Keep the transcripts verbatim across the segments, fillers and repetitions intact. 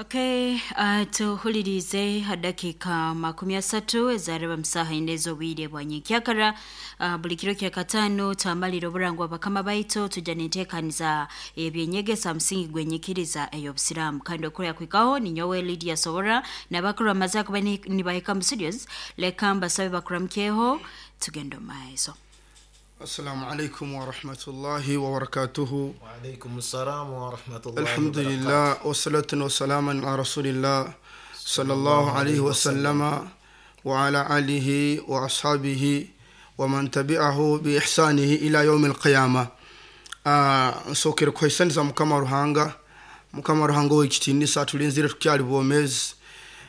Okay, uh, tuhulirize dakika makumi asatu ezareba musaha ine z'obwire bwa nyenkyakara. uh, buli kiro kya katano twamalira oburangwa bakama baitu tujja nenteekaniza ebyenyegesa musingi gwenyikiriza ey'obusiraamu, kandi okurya kwikaho ninyowe Lydia Sobora nabakuru bamaze kuba nibahika mu studios. Leka mbasabe bakuramukyeho tugenda omu maiso. السلام عليكم ورحمة الله وبركاته. وعليكم السلام ورحمة الله. الحمد لله والصلاة والسلام على رسول الله صلى الله عليه وسلم وعلى آله وأصحابه ومن تبعه بإحسانه إلى يوم القيامة. Nsookere kuhaisaniza Mukama Ruhanga, Mukama Ruhanga ow'ekitiinisa tulinzire tukyali bwomeezi.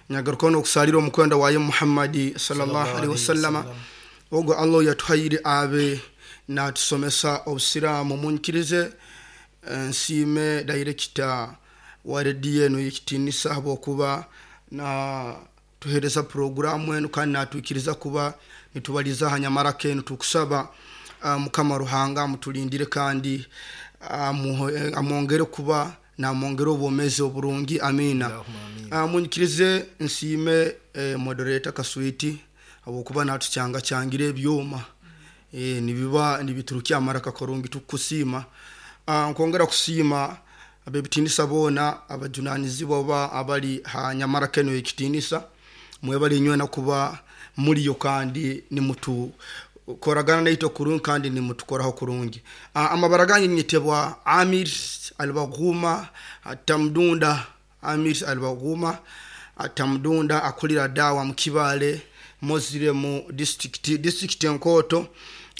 Nyagarukaho n'okusaalira omukwenda waye Muhammadi sallallahu alaihi wasallama, ogwo Allah yatuhaire abe natusomesa obusiraamu. Munyikirize nsiime director wa rediyo eno y'ekitiinisa habwokuba na tuhereza puroguramu enu kandi natwikiriza kuba nitubaliza ha nyamaraka enu. Tukusaba uh, Mukama Ruhanga amutulindire kandi amwongere kuba namwongere obwomeezi oburungi, amina. uh, munyikirize nsiime eh, moderator Kaswiti habwokuba natukyanga kyangire ebyoma e, nibiba nibiturukya amaraka karungi, tukusiima. uh, nkwongera kusiima abebitinisa boona abajunanizibwa oba abali ha nyamaraka eno y'ekitinisa, mwebale inywena kuba muliyo kandi nimutu koragana naitwe kurungi kandi nimutukoraho kurungi. uh, amabara gange nyetebwa Amir Albaghuma Tamdunda. Amir Albaghuma Tamdunda akulira dawa mu Kibaale Muslim district, district enkoto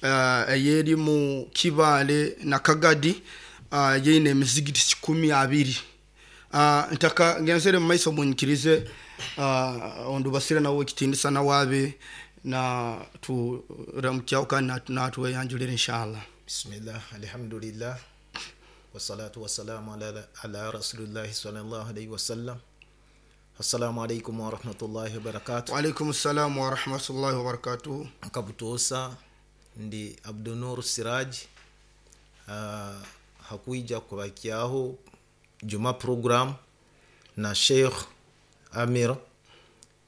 uh, eyeri mu Kibaale na Kagadi, uh, yeine emizigiti kikumi abiri. uh, ntaka ngenzere mu maiso munyikirize uh, ondubasire nawe ekitiinisa nawabe na turamukyaho kandi natuweyanjulire inshallah. Bismillah, alhamdulillah, wassalatu wassalamu ala, ala rasulillahi sallallahu alaihi wasallam. Assalamu alaikum warahmatullahi wabarakatuh. Waalaikum salamu warahmatullahi wabarakatuh. Nkabutuusa ndi Abdunur Siraj, uh, hakuija kubakyaho juma program na Sheikh Amir,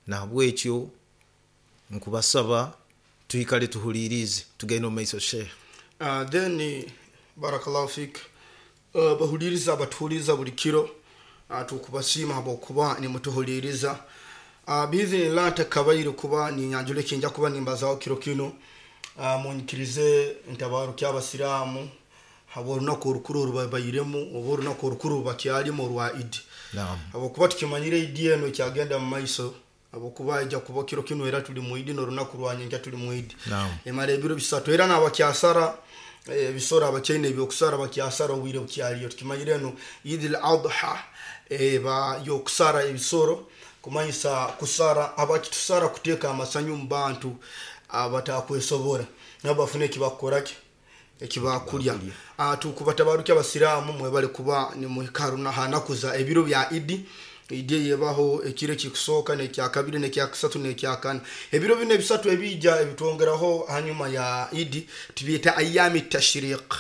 nahabwekyo nkubasaba tuikale tuhulirize tugende omu maiso Sheikh. Uh, then barakallahu fik. uh, bahuliriza abatuhuliriza buli kiro, uh, tukubasiima habwokuba nimutuhuliriza. uh, biizinillah ntakabaire kuba ninyanjula ekinja kuba nimbazaho kiro kino. uh, munyikirize ntabaruki abasiraamu habw'orunaku orukuru orubabairemu oba orunaku orukuru rubakyalimu orwa Idi. Naam. Habwokuba tukimanyire Idi eno ekyagenda mu maiso, habwokuba ija kuba kiro kino era tuli mu Idi n'orunaku rwanyenkya tuli mu Idi. Naam. Emara ebiro bisatu era n'abakyasara ebisoro abakyaine ebyokusara bakyasara obwire bukyaliyo. Tukimanyire eno Idi al-Adha eba yokusara ebisoro, kumanyisa kusara abakitusara kuteeka amasanyu mu bantu abatakwesobora nabo bafune ekibakukoraki ekibakulya. uh, tukubatabaruki abasiraamu mwebale kuba nimuhikaruna hanakuza ebiro bya Idi. Idi yebaho ekiro ekikusooka n'ekyakabiri n'ekyakusatu n'ekyakana. Ebiro bino ebisatu ebija ebitwongeraho hanyuma ya Idi tubyeta ayami tashriq.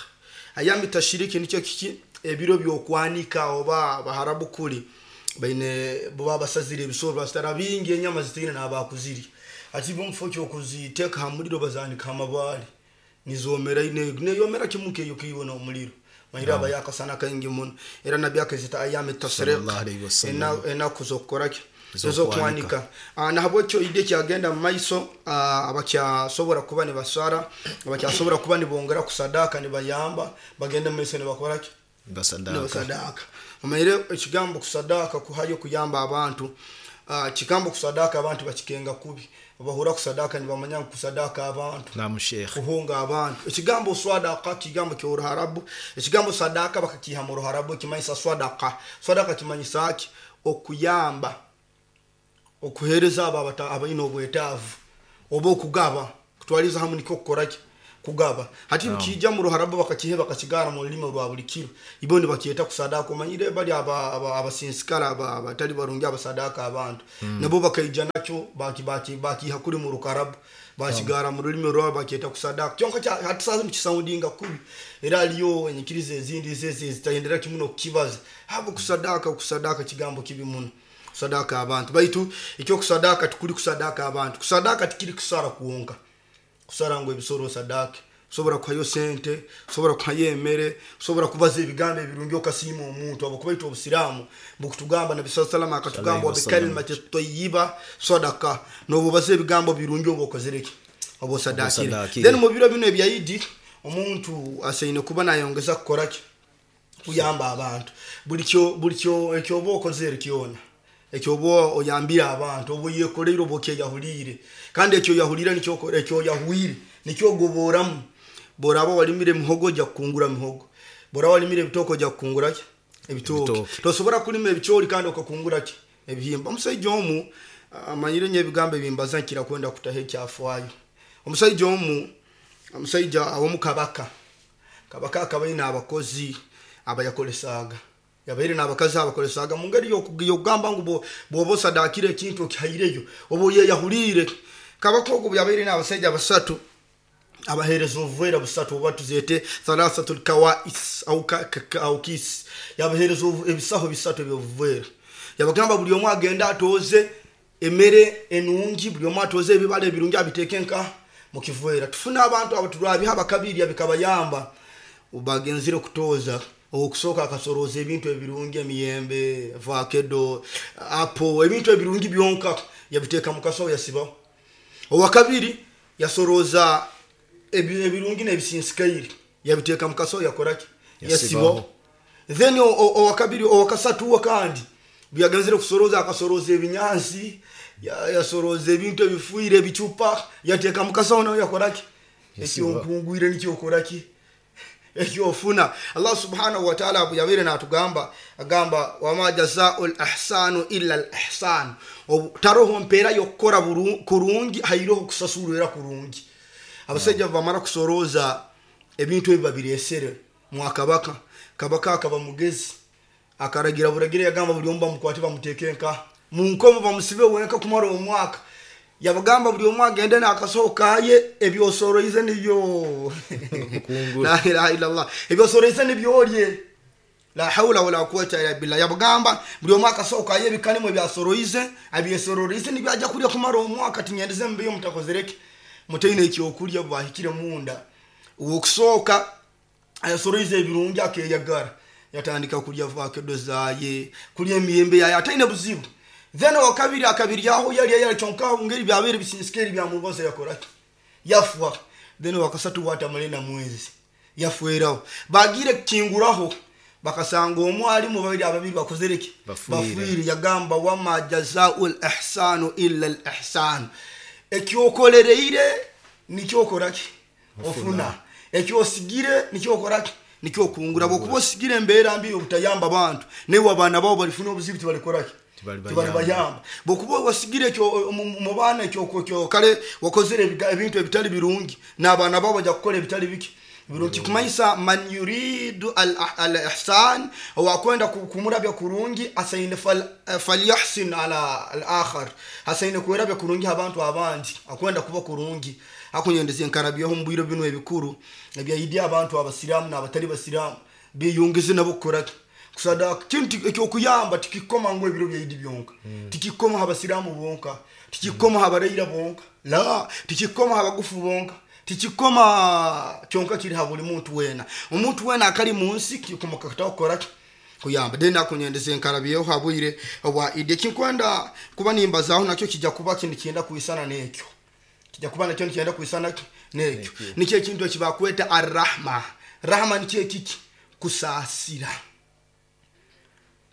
Ayami tashriq nikyo kiki? Ebiro by'okwanika oba baharabu kuli baine bo basazire ebisoro basitara bingi enyama zitiine n'abakuziri ati bo mufo kyokuziteeka ha muliro bazanika amabaale nizomera ine neyomera kimuke eyo kiibona omuliro mahira aba yakasana kaingi muno. Era nabbi akazita ayami tasriq, Sallallahu alaihi wasallam. enaku z'okukoraki Ez'okwanika. ez'okwanika. Nahabwekyo Idi ekyagenda mu maiso, abakyasobora kuba nibasara, abakyasobora kuba nibongera kusadaka nibayamba bagenda mu maiso nibakoraki Basadaka. nibasadaka. Omaire ekigambo kusadaka kuhayo kuyamba abantu. uh, kigambo kusadaka abantu bakikenga kubi, bahura kusadaka nibamanya ngu kusadaka abantu Naam Sheikh. kuhunga abantu. Ekigambo swadaka kigambo ky'oruharabu, ekigambo sadaka bakakiha mu ruharabu kimanyisa swadaka. Swadaka kimanyisa ki? Okuyamba, okuhereza abo abaine obwetaavu oba okugaba kutwaliza hamu nikyo kukoraki Kugaba. Hati mukija mu ruharabu bakakihe bakakigara mu rulimi rwa buli kiro. Ibo nibakyeta kusadaka omanyire bali aba aba- abasinsikara aba- abatali barungi abasadaka abantu. Nabo bakaija nakyo baki baki bakiha kuri mu rukarabu bakigara mu rulimi rwabo bakyeta kusadaka. Kyonka kya- hati sasa nikisoundinga kubi. Era aliyo enyikiriza ezindi zeze zitayendera kimu n'okukibaza. Habo kusadaka kusadaka kigambo kibi muno. Kusadaka abantu. Baitu ekyo kusadaka tikuri kusadaka abantu. Kusadaka tikiri kusara kuwonka. Kusara ngo ebisoro sadaka usobora kuhayo sente, usobora kuhayo emere, usobora kubaza ebigambo ebirungi okasiima omuntu. Abakuba itwe obusiraamu bukutugamba Nabi sallallahu alaihi wasallam akatugamba Sallallahu alaihi bikalimati tayyiba sadaka, n'obubaza ebigambo birungi oba okozere ki? Oba osadakire. Osadakire. Then mu biro bino ebya Idi omuntu asaine kuba nayongeza kukora ki? Kuyamba abantu. Buli kyo buli kyo ekyoba okozere kyona ekyoba oyambire abantu oba oyekoreire oba okyeyahuliire, kandi ekyo yahuliire nikyo okora, ekyo yahuire nikyo ogoboramu. Boraba walimire mihogo ojja kukungura mihogo, boraba walimire ebitooke ojja kukungura ki? Ebitooke. Ebitooke. Tosobora kulima ebicoori kandi okakungura ki? Ebihimba. Omusaija omu amanyire nyo ebigambo ebimbaza nkira kwenda kutaho ekyafaayo. Omusaija omu, omusaija aw'omukabaka, kabaka akaba aine abakozi abayakoresaaga, yabaire n'abakazi abakoresaaga mu ngeri y'oku- y'okugamba ngu bwo- bw'oba osadakire ekintu okihaireyo oba oyeyahuliire. Kabaka ogwo yabaire n'abasaija basatu abaheereza obuveera busatu oba tuzeete thalathatul kawais au ka- ka- ka- au kis, yabaheereza obu- ebisaho bisatu eby'obuveera. Yabagamba buli omu agende atooze emere enungi, buli omu atooze ebibala ebirungi abiteeke nka mu kiveera. Tufune abantu abo turwabiha bakabirya bikabayamba. Bagenzire kutooza, okusooka akasorooza ebintu ebirungi, emiyembe, vakedo, apo, ebintu ebirungi byonka yabiteeka mu kasawo yasibaho. Owakabiri yasorooza ebi- ebirungi n'ebisinzikaire yabiteeka mu kasawo yakoraki? Yasibaho. Yasibaho. Then o- o- owakabiri owakasatu we kandi byagenzire kusorooza akasorooza ebinyansi, ya- yasorooza ebintu ebifuire ebicupa yateeka mu kasawo nawe yakoraki? Yasibaho. Ekyonkungwire nikyokoraki? Ekyofuna. Allah subhanahu wa ta'ala yabeire natugamba agamba wama jazau l-ihsanu illa al-ihsan, taroho mpeera y'okukora buru- kurungi hairoho kusasurira kurungi. Abasajja bamara kusorooza ebintu ebi babiresere mwakabaka, kabaka akaba mugezi akaragira buragira yagamba buli omu bamukwate bamuteeke nka mu nkomo bamusibe wenka kumara omwaka. Yabagamba buli omu agende n'akasaho kaye ebyosoroize nibyo Kungura. la ilaha illallah, ebyosoroize nibyorye, la haula wala quwwata illa billah. Yabagamba buli omu akasaho kaye ebikanimu ebyasoroize abyesororize nibyo ajja kulya kumara omwaka, tinyendeze mbiyo mutakozereke mutaine ekyokulya bahikire munda. Okusooka ayasoroize ebirungi akeyagara yatandika kulya vakedo zaye, kulya emiyembe yaye ataine buzibu. Then owakabiri akabiryaho yalya yalya kyonka ngeri byabeere bisinsikeri byamubaza yakoraki? Yafwa. Then owakasatu watamale na mwezi yafweraho. Bagire kukinguraho bakasanga omwalimu babiri ababiri bakozereki? Bafuire. Bafuire. Yagamba wama jazau l-ihsanu illa al-ihsan, ekyokolereire nikyokoraki? Ofuna. Ekyosigire nikyokoraki? Nikyokungura. Bwokuba osigire embeera mbi obutayamba abantu, naye abaana babo balifuna obuzibu tibalikoraki? Tibalibayamba. Tibalibayamba. Bwokuba wasigire ekyo mu- mu baana ekyo ekyo kale wakozere ebiga- ebintu ebitali birungi, n'abaana babo bajja kukola ebitali biki? Birungi. Kumanyisa man yuridu al- al-ihsan, owakwenda ku- kumurabya kurungi asaine fal- falyahsin ala al-akhar, asaine kwerabya kurungi abantu abandi akwenda kuba kurungi. Akunyendeza enkarabyaho mu bwiro bino ebikuru ebyaidi abantu abasiraamu n'abatali basiraamu biyungize nabo kukoraki? Kusadaka. Kintu ekyokuyamba tikikoma ngu ebiro byaidi byonka, tikikoma abasiraamu bonka, tikikoma abarayira bonka, la tikikoma abagufu bonka, tikikoma kyonka kiri ha buli muntu wena. Omuntu wena akali mu nsi kikoma kakataho kukoraki? Kuyamba. Then akunyendeza enkarabyeho habwire obwa idi. Ekinkwenda kuba nimbazaho nakyo kijja kuba kintu kyenda kuisana n'ekyo, kijja kuba nakyo nikyenda kuisana ki? N'ekyo. Nikyo ekintu ekibakweta arrahma. Rahma nikyo ekiki? Kusaasira.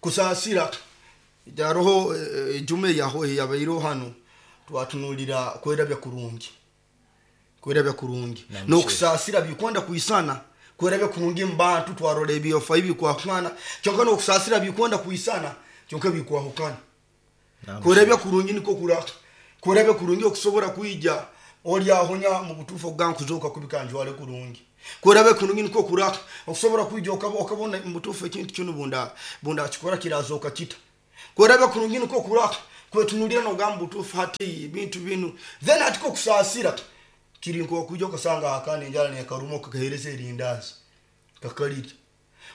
Kusaasira. Jaroho ejume yaho yabaireho hano twatunulira kwerabya kurungi, kwerabya kurungi n'okusaasira bikwenda kuisana. Kwerabya kurungi mu bantu twarora ebyofa ebikwahukana, kyonka n'okusaasira bikwenda kuisana kyonka bikwahukana. Kwerabya kurungi niko kura kwerabya kurungi okusobora kwija Oli ahonya mu butuufu ogankuzoka kubikanjwale kurungi kurabe kurungi niko kuraka okusobola kwijja okabona mu butuufu ekintu kino bunda bunda kikora kirazoka kita kurabe kurungi niko kuraka kwetunulira nogamba butuufu hati bintu binu then atiko kusaasira kiri nko kujja okasanga akana enjala nekarumo kakahereza erindazi kakalirya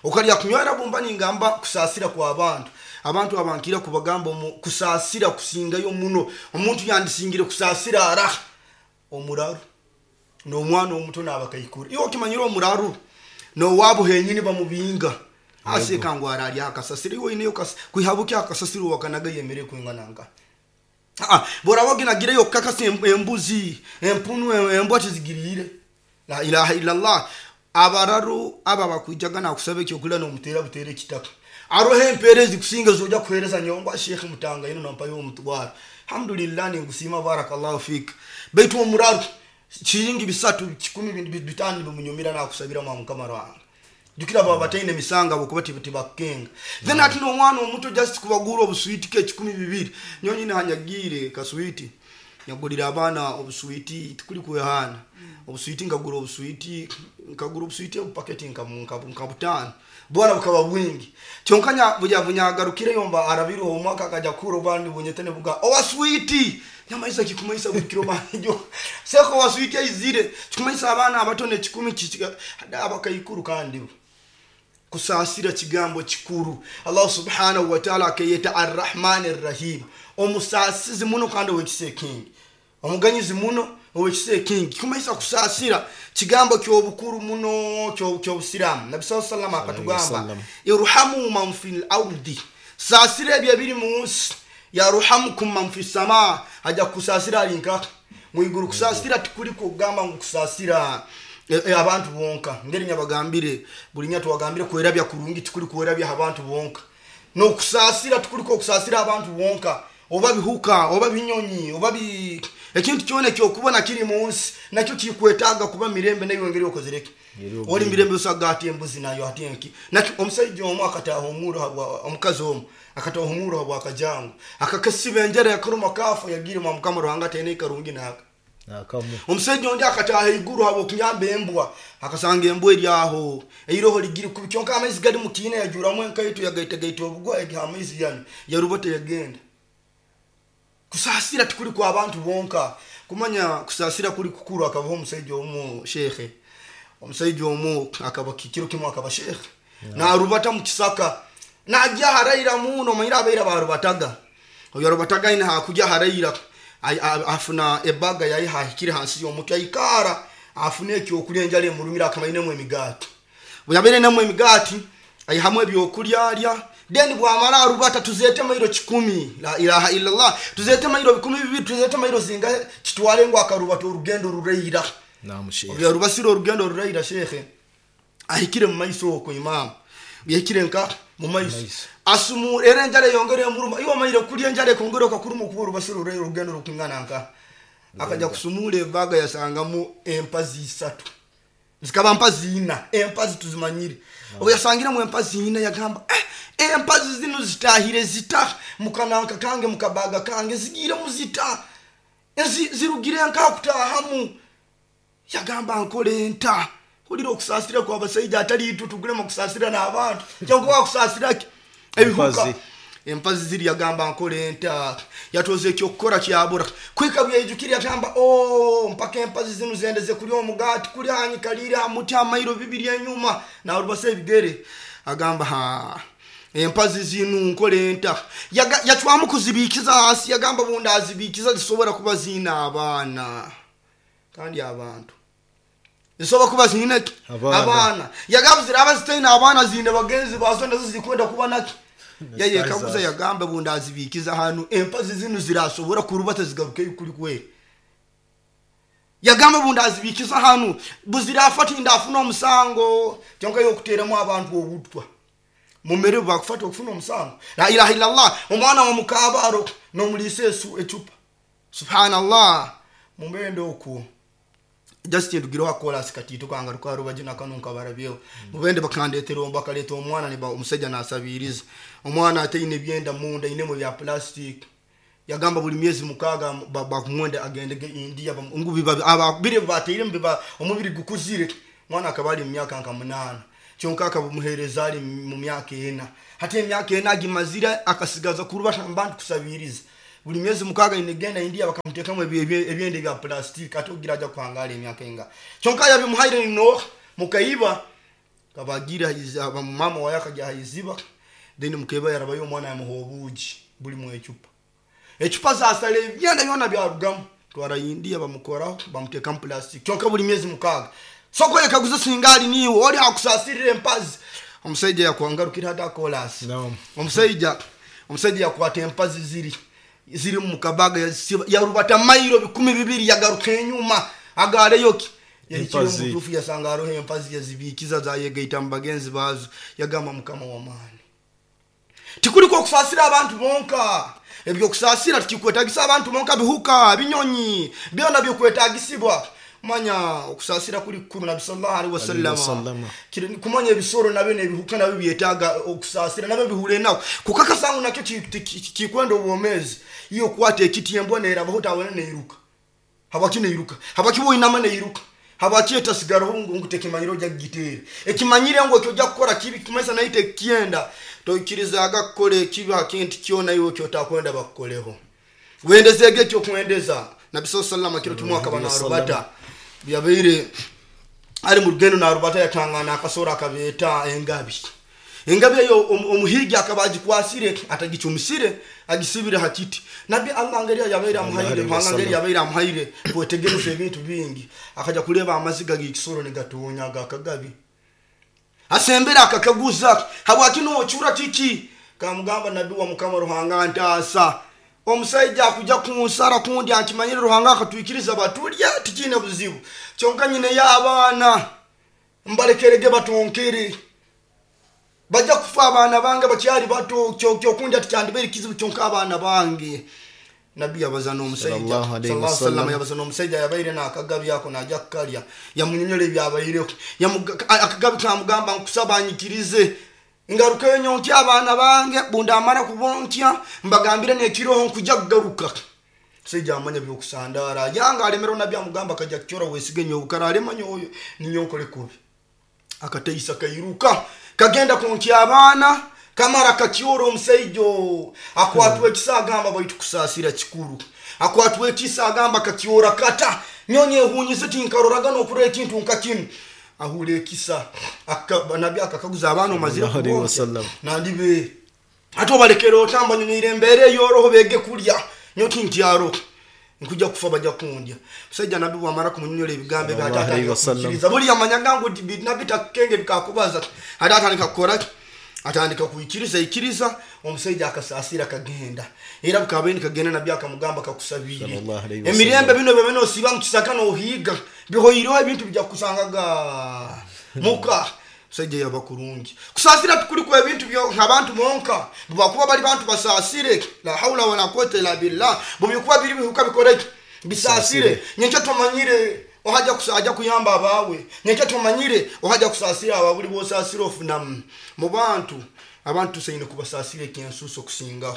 okalya kunywera bumba ningamba kusaasira kwa abantu abantu abankira kubagamba kusaasira kusingayo muno omuntu yandisingire kusaasira ara omuraru n'omwana omuto n'abakaikuru iwe okimanyire omuraru n'owaabo henyini bamubinga aseka ngu ararya akasasiro iwe oineyo kwihabuki akasasiro wakanaga yemere kwingananga ah boraba ginagireyo kakasa embuzi empunu embwa tizigirire la ilaha illallah abararu aba bakwijaga nakusaba ekyokulya n'omuteera buteera ekitaka aroho empeerezi kusinga zoja kuhereza nyongwa Sheikh Mutanga ino nampayo omutwaro alhamdulillah ningusiima barakallahu fik baitu omuraru chiringi bisatu kikumi bitano bimunyumira nakusabira mwa Mukama wange jukira baba bataine misanga bokuba tibakenga then ati n'omwana omuto just kubagura obuswiti ke kikumi bibiri nyonyi nahanyagire kaswiti nyagulira abaana obuswiti tikuli kwehana obuswiti ngagura obuswiti nkagura obuswiti obupaketi nka butano bwana bukaba bwingi kyonkanya buja bunyagarukire yomba arabiru omwaka akaja kuro bandi bunyetene buga owa switi nyamaisa kikumaisa bukiro banjo seko wa switi aizire kikumaisa abaana abatone kikumi abakaikuru kandi kusaasira kigambo kikuru Allah subhanahu wa ta'ala akeyeta arrahman arrahim omusaasizi muno kandi owekisa ekingi omuganyizi muno owekisa ekingi kumaisa kusaasira kigambo ky'obukuru muno ky'obusiraamu Nabi sallallahu alaihi wasallam akatugamba irhamu man fil ardi saasira ebyo ebiri mu nsi yaruhamukum man fis samaa ajja kusaasira alinka mwiguru kusaasira tikuli kugamba ngu kusaasira E, e, abantu bonka ngeri nyabagambire buli nya twagambire kwerabya kurungi tikuli kwerabya abantu bonka no kusaasira tikuli ko kusaasira abantu bonka oba bihuka oba binyonyi oba bi ekintu kyone kyokubona kiri mu nsi nakyo kikwetaaga kuba mirembe nayo ngeri okozereke oli mirembe osaga ati embuzi nayo ati enki nakyo omusajja omu akataaha omuro omukazi omu akataaha omuro habwa akajangu akakasiba enjara yakaruma kafa yagire mwa Mukama Ruhanga tene karungi naka nakamu omusajja ondi akataaha iguru habo kunyamba embwa akasanga embwa eri aho eiroho ligiri kubi kyonka amaizi gali mukiina yajuramu enkaito yagaitagaita obugwa egiha amaizi yanu yarubata yagenda kusaasira tikuli kwa abantu bonka kumanya kusaasira kuli kukuru akavaho omusajja omu shekhe omusajja omu akaba kikiro kimwe akaba shekhe narubata mu kisaka najja haraira muno manyira abaira barubataga oyo arubataga ina hakujja haraira afuna ebaga yayi hahikire hansi y'omuti ayikara afuna ekyokulya enjala emulumira akamainemu emigaati bwe yabeere nemu emigaati ayihamu ebyokulya alya then bwamala arubata tuzeete mairo kikumi la ilaha illallah tuzeete mairo bikumi bibiri tuzeete mairo zingahe kitwale ngu akarubata orugendo rureira yarubasire orugendo rureira shekhe ahikire mu maiso okwo imamu yahikire nka mu maiso asumu era enjala yongere emuruma iwe omayire kulya enjala ekongere okakuruma okuba orubasire orugendo rukingana nka akaja kusumula ebaga yasangamu empazi isatu zikaba mpazi ina empazi tuzimanyire obu yasangiremu empazi ina yagamba eh, empazi zino zitahire zita mukananka kange mukabaga kange zigiremu zita zirugire nka kutahamu yagamba nkole nta hulira okusaasira kwa abasajja atali itu tugulemu okusaasira n'abantu kyonka wakusaasiraki ebihuka empazi ziri yagamba nkole nta yatoze ekyokukora kyabura kwika bweyijukire yagamba o mpaka empazi zino zendeze kulya omugaati kuli hanyikalire hamuti amairo bibiri enyuma narubasa ebigere agamba ha empazi zino nkole nta yacwamu kuzibiikiza hasi yagamba bundi azibiikiza zisobora kuba ziina abaana kandi abantu zisobola kuba ziine abaana yagamba ziraba zitaine abaana ziine bagenzi bazo nazo zikwenda kuba naki yayekaguza yagamba bundi azibiikiza hanu empazi zino zirasobora kurubata zigarukeyo kuri kweri yagamba bundi azibiikiza hanu buzirafata indafuna omusango kyonka yokuteeramu abantu obutwa mumere bakufata okufuna omusango la ilaha illallah omwana wa mukaabaro n'omuliisa esu ecupa subhanallah mumende okwo just ndugireho akolasi katito kanga rukaruba kanu nkabarabyeho mubende bakandetera bakaleta omwana niba omusajja nasabiriza omwana ataine byenda munda inemo bya plastic Yagamba buli myezi mukaaga bakumwenda agendege India ngu bire bateire biba omubiri gukuzire. Mwana akaba ali mu myaka nka munaana, kyonka akamuheereza ali mu myaka ena. Hati emyaka ena agimazire akasigaza kurubata mbantu kusabiriza. Buli myezi mukaaga inegenda India bakamuteekamu ebyenda bya plastic ate ogira aja kuhangala emyaka enga. Kyonka yabimuhaire nino mukaiba kabagira mama waye akajya hayiziba, then mukaiba yarabayo omwana yamuha obuugi buli mu ecupa. Ecupa zasala ebyenda byona byarugamu. Twara India bamukoraho bamuteekamu plastic. Kyonka buli myezi mukaaga. Soko yekaguza singali niwe oli akusasirira empazi. Omusajja yakwangarukira hata kolasi. No. Omusajja omusajja yakwata empazi ziri ziri mu kabaga yarubata mailo bikumi bibiri yagaruka enyuma agaleyo ki yahikire mutufu yasanga aroho empazi yazibikiza zayegaita mu bagenzi bazo. Yagamba mukama wa maani, tikuliko okusasira abantu bonka. Ebyo kusasira tukikwetagisa abantu bonka, bihuka binyonyi byona byokwetagisibwa. Manya okusasira kuli kukuru Nabi sallallahu alaihi wasallam. Kumanya ebisoro nabyo nebihuka nabyo byetaaga okusasira nabyo bihure nako. Kukakasa ngu nakyo kikwenda obwomezi. Iyo kwata ekiti embwa nerabaho tawena neiruka. Habaki neiruka. Habaki boinama neiruka. Habaki etasigaraho ngu ngutekimanyiro ojja kugiteera. Ekimanyire ngu ekyo ojja kukora kibi kimasa naite kienda. Toikirizaga kukora ekibi hakintu kyona iwe kyotakwenda bakukoleho. Wendezege ekyo kwendeza. Nabi sallallahu alaihi wasallam kiro kimwe akaba narubata. Byabaire ari mu rugendo narubata yatangana akasora akabeta engabi. Engabi eyo omuhigi akaba agikwasire atagicumisire agisibire hakiti. Nabi Allah ngeri yabaire amuhaire, Allah ngeri yabaire amuhaire kwetegereza ebintu bingi. Akaja kuleba amaziga g'ekisoro negatonya akagabi. Asembera akakaguza habwaki nochura kiki? Kamugamba Nabi wa Mukama Ruhanga ntaasa. Omusajja akuja kunsara kundi akimanyire Ruhanga akatwikiriza batulya tikine buzibu. Kyonka nyine y'abaana mbalekerege batonkere. Bajja kufa abaana bange bakyali bato kyokundya tikyandibere kizibu kyonka abaana bange. Nabi yabaza n'omusajja sallallahu alaihi wasallam yabaza n'omusajja yabaire n'akagabi ako najja kukalya. Yamunyonyola ebyabaireko. Akagabi kamugamba nkusaba anyikirize. Ngaruka enyonkya abaana bange bunda amara kubonkya mbagambire n'ekiroho nkujja kugaruka. Musajja amanya byokusandara yanga alemera Nabi amugamba akajja kukyora wesige nyobukara alema nyoyo ninyonkole kubi. Akateisa kairuka kagenda kunkya abaana kamara kakyora omusajja akwatwa ekisa agamba baitu kusaasira kikuru. Akwatwa ekisa agamba kakyora kata nyonye ehunyize tinkaroraga n'okura ekintu nka kinu. Ahule ekisa Nabi akakaguza abaana omazira nandibe ate obalekera otamba nyonyeire embeera eyoroho bege kulya nyo tinkyaro nkuja kufa bajja kundya. Musajja Nabi bwamara kumunyonyola ebigambo ebyo ate buli yamanyaga ngu Nabi takenge bikakubaza ate atandika kukora atandika kuikiriza ikiriza. Omusajja akasasira kagenda era bukabeni kagenda Nabi akamugamba kakusabire emirembe bino byo nosiba mu kisaka nohiga bihoyireho ebintu bijja kukusangaga muka. Musajja yaba kurungi kusasira tukuliko ebintu byo abantu monka bwakuba bali bantu basasire la haula wala quwwata illa billah bubikuba biri bihuka bikoreke bisasire. Nyenke tumanyire ohaja kusaja kuyamba abawe. Nyenke tumanyire ohaja kusasira ababuli bosasira ofuna mu bantu. Abantu tusaine kubasasira ekinsuso kusinga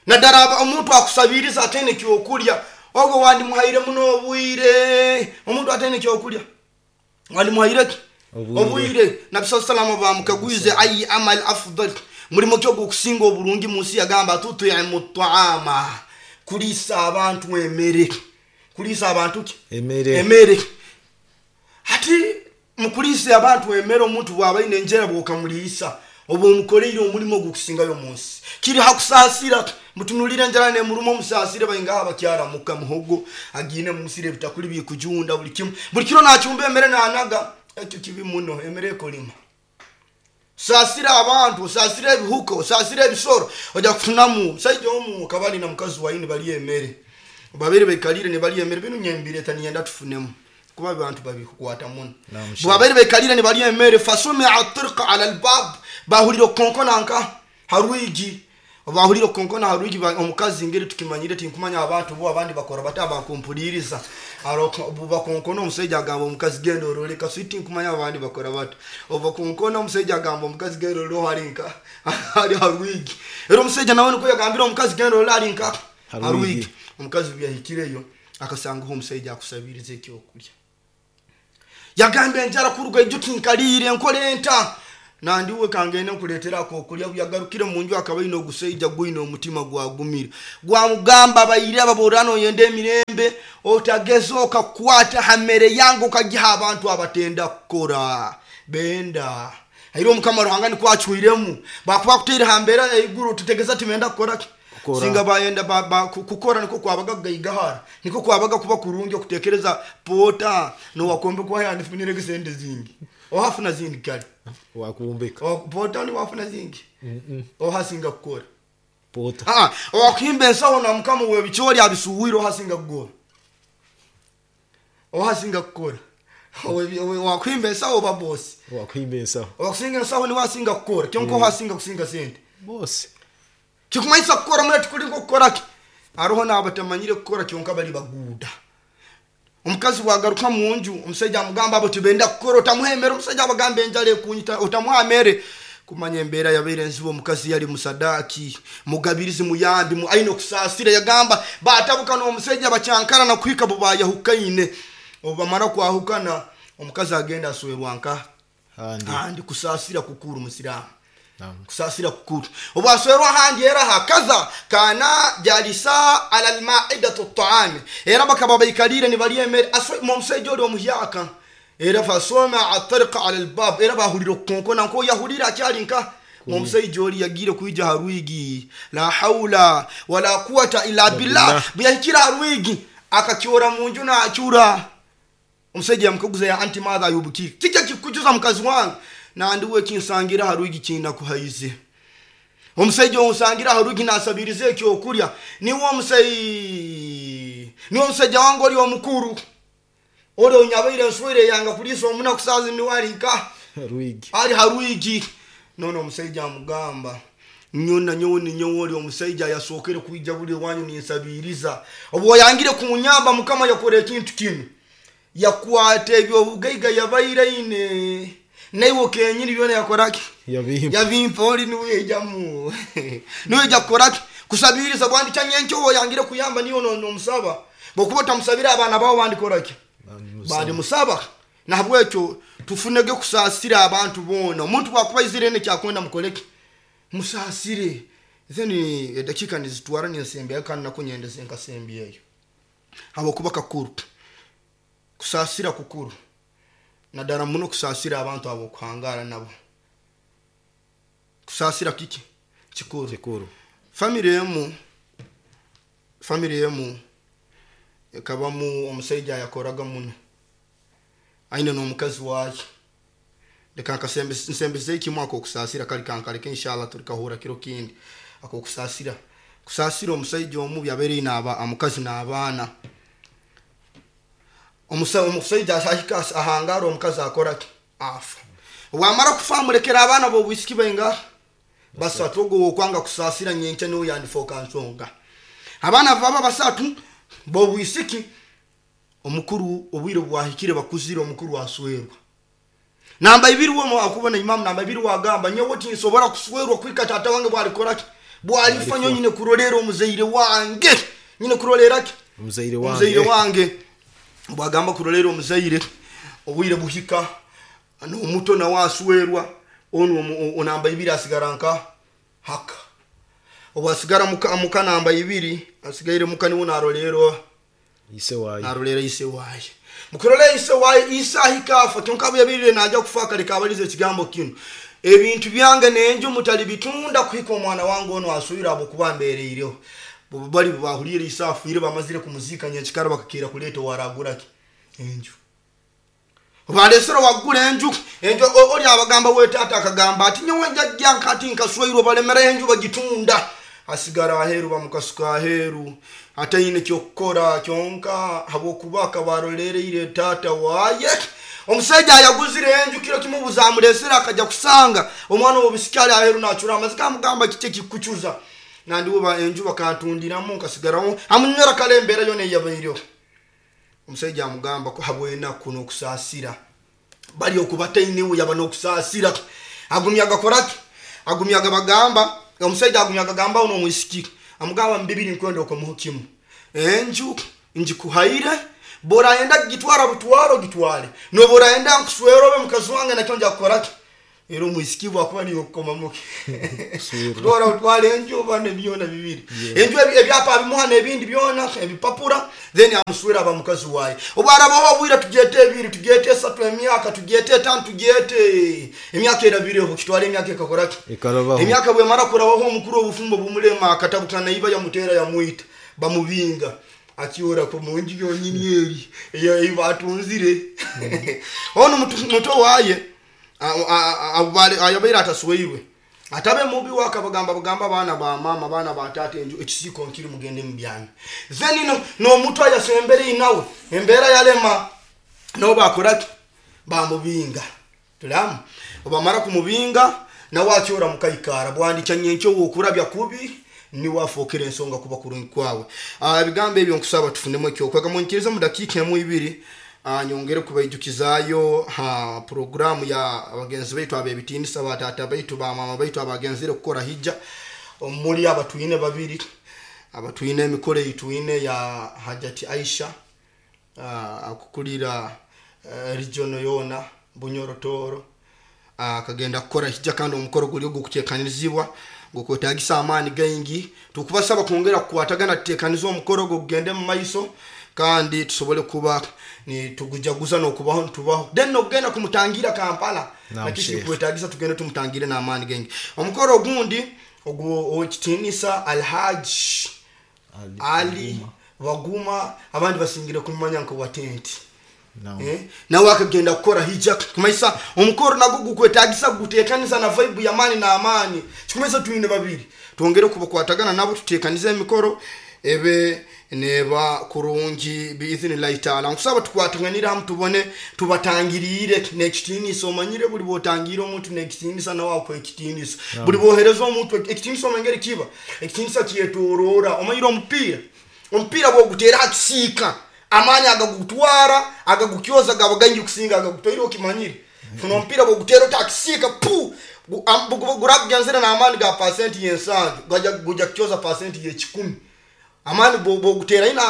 naddala omuntu akusabiriza atene kyokulya ogwo wandi muhaire muno obwire. Omuntu atene kyokulya wandi muhaire obwire. Nabi sallallahu alaihi wasallam bamukagwize ayi amal afdal mulimo kyo gukusinga obulungi munsi yagamba tut'imu ta'ama kulisa abantu emere. Kulisa abantu ki emere emere. Hati mukulisa abantu emere omuntu bwaba ine enjera bwokamulisa obo omukoleire omulimo gukusingayo munsi kiri hakusasira mutunulire enjala ne murumo omusasire bayinga abakyara muka muhogo agine musire bitakuli bikujunda buli kimu buli kiro nacyumba emere nanaga ekyo kibi muno emere ekolima. Sasira abantu, sasira ebihuko, sasira ebisoro ojja kufunamu. Musajja omu kabali na mukazi waine bali emere babiri bekalire ne bali emere bino nyembire tanyenda tufunemu kuba abantu babikukwata muno. Babiri bekalire ne bali emere fasumi atirqa ala albab bahulira konkona nka haruigi bahulira konkona haruigi omukazi ngeri tukimanyire tinkumanya abantu bo abandi bakora bataba kumpuliriza aroko bakonkona omusajja agamba omukazi genda orole kasiti nkumanya abandi bakora bato ova konkona omusajja agamba omukazi genda orole harinka hari haruigi era omusajja nawe niko yagambira omukazi genda orole harinka Harwigi. Omukazi byahikireyo akasangaho omusajja akusabiriza ekyokulya. Yagamba enjala kuruga ijo tinkaliire nkole enta. Nandiwe kangende nkuleetera akokulya. Yagarukire mu nju akaba aine ogusaija gwine omutima gwagumire. Gwamugamba baire ababorano oyenda emirembe otageza okakwata ha mere yange okagiha abantu abatenda kukora. Benda. Aire omukama Ruhanga nikwo acwiremu. Bakuba kuteire ha mbeera eiguru tutegeza tibenda kukora ki? Singa bayenda ba, ba, kukora niko kwabaga kugaigahara. Niko kwabaga kuba kurungi okutekereza pota nowakombe kwa yanifunire sente zingi. Ohafuna zindi kale. Wakumbeka. O pota ni wafuna zingi. Mm -mm. Ohasinga kukora. Pota. Ah, owakuhimba ensaho na mukama webichori abisuwiro ohasinga kukora. Ohasinga kukora. Owakuhimba ensaho ba boss. Wakuhimba ensaho. Owakusinga ensaho ni wasinga kukora. Kyonko ohasinga kusinga sente. Boss. Kikumanyisa kukora mura tukulingo kukora ki? Aroho n'abatamanyire kukora kyonka bali baguda. Omukazi wagaruka mu nju omusajja amugamba abo tibenda kukora otamuhemera. Omusajja abagamba enjala ekunyita otamuhamere. Kumanya embeera yabeire enzibu omukazi yali musadaki mugabirizi muyambi mu aine okusaasira. Yagamba batabuka n'omusajja bakyankara na kuhika bo bayahukaine. Obamara kwahukana omukazi agenda aswerwa nka handi handi. Kusaasira kukuru musiramu. Kusasira kukuru obwaswerwa handi era hakaza kana jalisa ala almaidatu at-ta'am era bakaba baikalire ni bali emere aswe omusajja oli omuhyaka era fasoma atarqa ala albab era bahulira konkona nko yahulira akyali nka omusajja oli yagire kuija harwigi la haula wala quwata illa billah. Biyahikira harwigi akakyora munju na achura. Omusajja yamukaguza ya anti madha yubuki kijja kikujuza mukazi wange nandiwe kinsangira harugi kina kuhaize. Omusajja onsangira harugi nasabirize ekyokulya niwo omusai niwo omusajja wange oli omukuru oli onyabaire nswire yanga kulisa omuna kusazi niwalika harugi ali harugi. Nono omusajja amugamba nyona nyowe ni nyowe oli omusajja yasokere kuija buli wanyu ninsabiriza obwo yangire kunyamba mukama yakora ekintu kinu yakwata ebyo bugaiga yabaire ine naiwo kenyini byona yakoraki yabimpa yabimpa oli niwe jamu niwe jakoraki kusabiriza bwandi chanyencho yangire kuyamba niyo no nomusaba bokuba tamusabira abana bawo bandi koraki bandi musaba. Nahabwekyo tufunege kusasira abantu bona. Omuntu wakuba izire ne kyakwenda mukoleki musasire. Then edakika nizitwara ninsembe kandi nakunyendeze nkasembe eyo habokuba kakuru kusasira kukuru nadara muno kusasira abantu abo kuhangara nabo. Kusasira kiki kikuru kikuru. Family yemu family yemu ekabamu omusajja yakoraga muno aine n'omukazi waye. Leka nkasembe nsembeze kimu ako kusasira kali kankaleke inshallah tulikahura kiro kindi ako kusasira kusasira omusajja omubi abeere n'aba omukazi n'abaana. Omusajja ahika ahangara omukazi akora afa. Wamara kufa amulekera abaana bo bwisiki benga basatu ogo okwanga kusasira nyenche no yandifoka nsonga. Abaana baba basatu bo bwisiki omukuru obwire bwahikire bakuzira omukuru aswerwa. Namba ibiri wo akubona imam namba ibiri wagamba nyewe tinsobora kuswerwa kwika tata wange bwalikora bwalifa nyine kurolera omuzaire wange nyine kurolera ki omuzaire wange omuzaire wange bwagamba kurolera omuzaire obwire buhika n'omuto na waswerwa ono onamba ibiri asigara nka haka obwasigara muka muka namba ibiri asigaire muka niwo narolero ise wayi narolera ise wayi mukurolera ise wayi isa hikafa kyonka yabirire naja kufa kale kabalize ekigambo kino ebintu byange nenjo mutali bitunda kuhika omwana wange ono asubira abo kuba mbereireho bali bahulire isa afire bamazire kumuzika nyekikara bakakira kuleta waragura ki enju balesero wagula enju enju oli abagamba we tata akagamba ati nyowe njajja nkati nkaswairwa balemera enju bagitunda asigara aheru bamukasuka aheru ataine kyokukora kyonka habwokuba akabarolereire tata waye. Omusajja ayaguzire enju kiro kimubuza amulesera akajja kusanga omwana w'obusikali aheru nachura amazika amugamba kike kikuchuza nandiwe ba enju bakantundiramu nkasigarawo amunyora kale embeera yona eyabaireho. Omusajja amugamba ko habwena kuno kusasira bali okubatainiwe yaba nokusasira agumya gakoraki agumya gabagamba omusajja agumya gagamba ono mwisiki Amugamba mbibiri nkwenda okomuho kimu. Enju njikuhaire borayenda gitwara butwaro gitware. No borayenda nkuswero be mukazi wange nakyo nja kukoraki. Era omwisikivu akuba niyo kukomamuke. Kutwara utware enju bane byona bibiri. Enju ebyapa bimuha n'ebindi byona ebipapura then amuswera aba mukazi waye. Obwarabaho obwira tugete ebiri tugete esatu emyaka tugete etano tugete emyaka erabireho kitware emyaka ekakoraki. Emyaka bwemara kurabaho omukuru obufumbo bumulema akatabukana iba yamutera yamuita bamubinga. Akiora ko munji yonyini eri eyo ibatunzire. Ono muto waye ayabaire atasweirwe atabe mubi wakabagamba bagamba bana ba mama bana ba tata enju ekisiko nkiri mugende mubyana. Then no no mutu ayasembere inawe embera yalema no bakoraki bamubinga tulamu obamara kumubinga na wacyora mukaikara bwandika nyenkyo wokurabya kubi ni wafokera ensonga kuba kurungi kwawe. Ebigambo ebyo nkusaba tufunemo ekyo kwega munkiriza mu dakika emu ibiri. Nyongere kubaijukizayo ha programu ya abagenzi baitu abebitinisa batata baitu ba mama baitu abagenzire kukora hijja omuli abatuine babiri abatuine emikore ituine ya Hajati Aisha akukulira uh, region yona Bunyoro Toro akagenda kukora hijja kandi omukoro guli ogukutekanizibwa gukwetagisa amaani gaingi. Tukubasaba kwongera kukwatagana tutekanize omukoro gugende mu maiso kandi tusobole kuba ni tugujaguza no kubaho tubaho then nogenda kumutangira Kampala nakisi kwetagisa tugende tumutangire na amani gengi. Omukoro ogundi ogu okitinisa Alhaj Ali, Ali Waguma abandi basingire kumanya nko watenti no. Eh nawe akagenda kukora hijja kumaisa omukoro nago gukwetagisa gutekanisa na vibe ya amani na amani kikumesa tuine babiri tuongere kubakwatagana nabo tutekanize emikoro ebe neba kurungi biiznillahi taala. Nkusaba tukwatanganira hamu tubone tubatangirire nekitinisa omanyire buli botangira omuntu nekitinisa nawe akwe ekitinisa no. Buli bohereza omuntu ekitinisa omengeri kiba ekitinisa kyetorora omanyire omupiira omupiira bwogutera akisika amani agagutwara agagukyoza gabaganyi kusinga agagutoire okimanyire funo omupiira bwogutera otakisika pu gurabyanzira na amani ga percent yensanju gaja guja kyoza percent ye kikumi amani bo gutera ina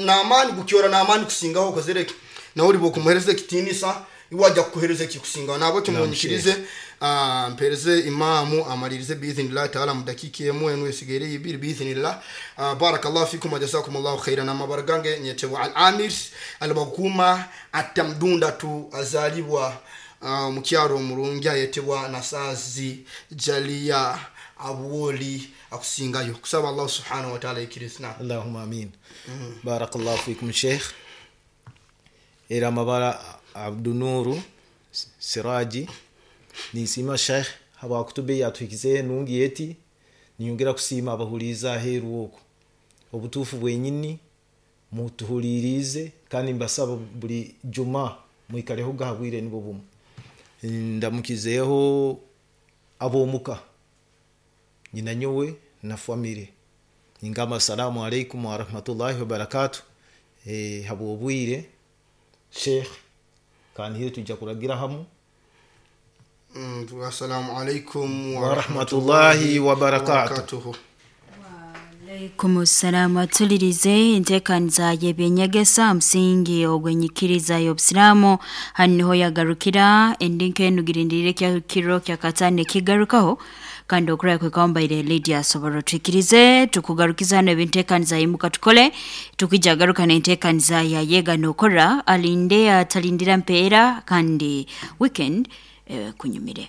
na amani gukyora na amani kusingaho kozereke na uri bo kumuhereza kitinisa iwajya kuhereza kikusingaho nabo kimunyikirize ah mpereze imamu amalirize biiznillah taala mudakika emu enu esigere ibiri biiznillah. Barakallahu fikum wa jazakumullahu khairan. Amabaragange nyetebwa al-amir al-baguma atamdunda tu azalibwa mukyaro murungi ayetebwa Nasazi Jalia Abwoli akusingayo kusaba Allah subhanahu wa ta'ala ikirisna. Allahumma amin. Mm. Barakallahu fikum sheikh. Era mabara Abdunuru Siraji nisima sheikh haba kutube yatwikize nungi yeti niyongera kusima abahuliza heru oko obutufu bwenyini mutuhulirize kandi mbasaba buli juma mwikaleho gahabwire nibo bumu ndamukizeho abomuka nyina nyowe na family ingamba assalamu alaikum wa rahmatullahi wa barakatuh. Eh habo obwire sheikh kandi hiri tujja kuragira hamu. Mm, assalamu alaikum wa rahmatullahi wa barakatuh. Wa alaikum assalam. Atulirize enteekaniza y'ebyenyegesa musingi ogwenyikiriza y'obusiraamu haniho yagarukira endinka enugirindirire kya kiro kya katane kigarukaho kandi okuraya kwe Lydia asobora twikirize tukugarukiza hano ebinteekaniza yimuka tukole tukijagaruka n'enteekaniza ya yega nokora alinde atalindira mpeera kandi weekend eh, kunyumire.